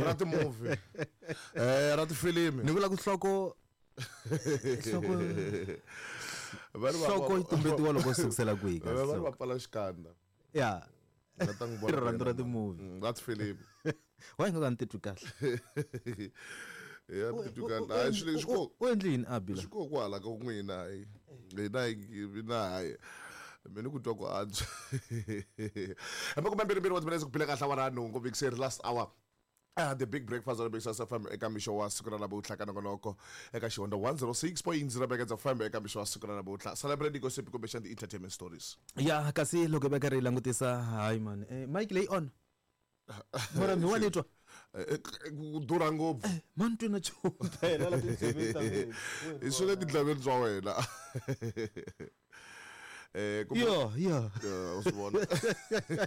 Ra ti-movie, ra tifilimi. Ni vula ku nhloko nhloko Va ri nhloko yi tumbetiwa loko u sukusela kwihi Va ri kasi va pfala xikandza. Ya. Nga ta n'wi vona Rirhandzu ra yena. ti-movie. Ra tifilimi. Wa nga ka ni titwi kahle. Ya titwi kahle. Hayi, swilo leswi ko U endli yini Abila? Swi ko kwala ka n'wina, hayi. Hina hina hayi. Mina ku twa ku antswa. 22 wa timinetse ku phila kahle awara ya 8 vikiseri last hour. The Big Breakfast on Big FM eka mixo wa siku ra namuntlha ka nongonoko eka xihonda 106.0 Megahertz FM eka mixo wa siku ra namuntlha. Celebrate gossip kumbexana ti-entertainment stories. Ya, kasi loko hi va karhi hi langutisa, hayi man, mic leyi on. Mara mi wa ni twa? Ku durha ngopfu. Ma ni twi na nchumu phela la tindleveni ta mina. I swi le tindleveni bya wena. Kumbe Yo, yo. U swi vona.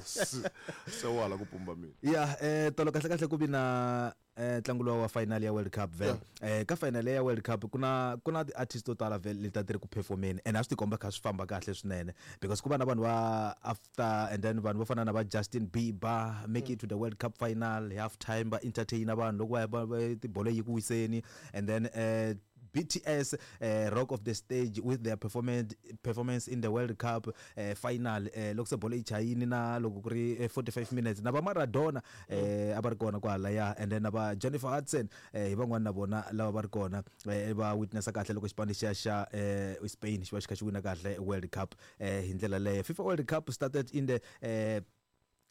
Se wa hala ku pumba mina. Ya, tolo kahle kahle ku vi na ntlangu lowa wa final ya World Cup vhele. Ka final ya World Cup ku na ti-artist to tala vhele leti a ti ri ku performeni, and a swi tikomba kha swi famba kahle swinene because ku va na vanhu va after, and then vanhu vo fana na va Justin Bieber make it to the World Cup final half time, va entertain vanhu loko va tibolo yi ku wiseni, and then BTS rock of the stage with their performance in the World Cup final, loko se bolo yi chayini na loko ku ri 45 minutes, na va Maradona a va ri kona kwalaya, and then na va Jennifer Hudson, hi van'wani na vona lava va ri kona, va witnessa kahle loko xipano lexiya xa Spain xi va xi kha xi wina kahle World Cup hi ndlela leyo. FIFA World Cup started in the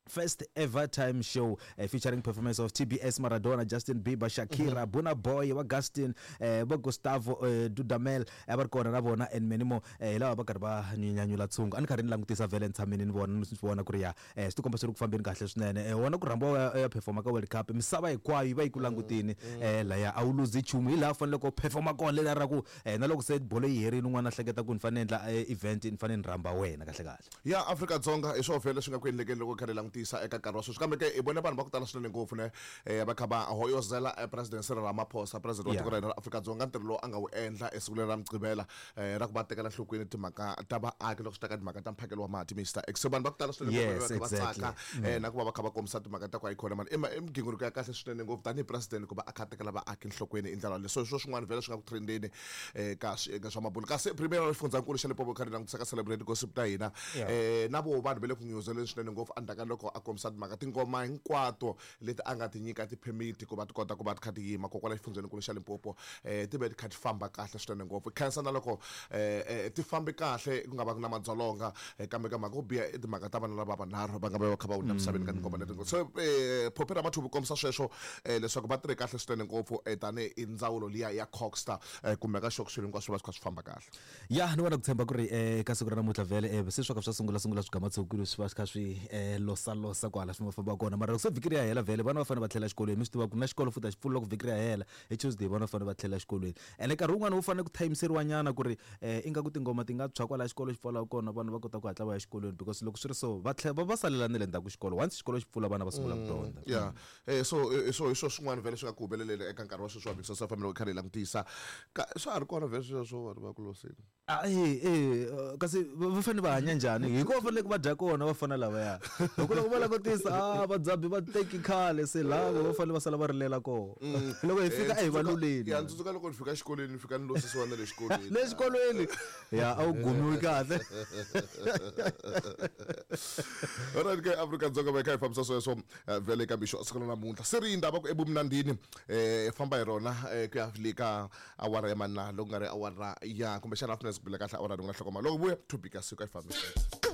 first ever time show featuring performance of TBS, Maradona, Justin Bieber, Shakira, Burna Boy, wa Gustin, va Gustavo Dudamel a va ri kona na vona, and many more, hi lava va karhi va nyanyula tshungu. A ni karhi ni langutisa vhele ni tshamini ni vona, ni swi vona ku ri ya swi tikomba swi ri ku fambeni kahle swinene. Wona ku rhambiwa u ya performa ka World Cup, misava hinkwayo yi va yi ku langutini, laya a wu luzi nchumu, hi laha u faneleke u performa kona leriya ra ku na loko se bolo yi herile, un'wana a hleketa ku ni fanele endla event, ni fanele ni rhamba wena kahle kahle. Ya Afrika-Dzonga, hi swona vhele swi nga ku endlekeni loko kha hi langutisa eka nkarhi wa sweswi, kambe ke hi vone vanhu va ku tala swinene ngopfu ne va kha va hoyozela President Cyril Ramaphosa, president wa tiko ra hina ra Afrika-Dzonga, ntirho lowu a nga wu endla esiku leri ra Mugqivela ra ku va tekela nhlokweni timhaka ta vaaki loko swi ta ka timhaka ta mphakelo wa mati, Mr X. So vanhu va ku tala swinene ngopfu va kha va tsaka na ku va va kha va kombisa timhaka ta ku hayikhona mani i migingiriko ya kahle swinene ngopfu tanihi president ku va a kha a tekela vaaki nhlokweni hi ndlela yaleyo. So hi swo swin'wana vhele swi nga ku trendeni ka swiyenge swa mabulo, kasi premier wa xifundzankulu xa Limpopo, kha ri langutisa ka celebrate gossip ta hina, na vo vanhu va le ku nyuzeleni swinene ngopfu endzhaku ka loko a kombisa timhaka tingoma hinkwato leti a nga ti nyika ti-permit ku va ti kota ku va ti kha ti yima kokwala xifundzenikulu xa Limpopo, ti ve ti kha ti famba kahle swinene ngopfu. Khensa na loko ti fambi kahle ku nga va ku na madzolonga, kambe ka mhaka yo biha i timhaka ta vana lava vanharhu va nga va va kha va hundza misaveni ka tingoma leti. So Phophi Ramathuvi kombisa sweswo leswaku va tirhe kahle swinene ngopfu tanihi ndzawulo liya ya Coxta kumbe ka xoko swilo hinkwaswo va swi kha swi famba kahle. Ya, ni vona ku tshemba ku ri ka siku ra namuntlha vhele se swa ka swa sungula sungula swigamatshukulu swi va swi kha swi losalosa kwala swi famba kona, mara loko se vhiki ri ya hela vhele vana va fanele va tlhela exikolweni. Mi swi tiva ku na xikolo futhi a xi pfuli loko vhiki ri ya hela hi Tuesday, vana va fanele va tlhela exikolweni, ene nkarhi wun'wani wu fanele ku thayimiseriwa nyana ku ri ingaku tingoma ti nga tshwa kwala xikolo xi pfalaka kona, vanhu va kota ku hatla va ya exikolweni, because loko swi ri so va tlhela va salela na le ndzhaku xikolo once xikolo xi pfula vana va sungula ku dyondza. Ya, so so hi swo swin'wana vhele swi nga ku humeleleni eka nkarhi wa sweswi wa Mixo FM loko hi karhi hi langutisa ka swa ha ri kona vhele sweswo vanhu va ku losini. Ah, kasi va fanele va hanya njhani? Hikuva va fanele va dya kona va fana lavaya, hi ku loko va langutisa a vadzabi va teki khale se lava va fanele va sala va rilela kona loko hi fika a hi va luleni. Ya, ndzi tsundzuka loko ni fika exikolweni, ni fika ni losisiwa na le xikolweni. Le xikolweni ya a wu gumiwi kahle. Alright ke, Afrika-Dzonga va hi kha hi fambisa sweswo vhele eka mixo siku ra namuntlha, se ri yindava ku ebumnandini famba hi rona ku ya le ka awara ya manna loko nga ri awara ya kumbexana afternoon ku bile kahle awara rin'we na hlokoma loko vuya topic ya siku a yi fambisa.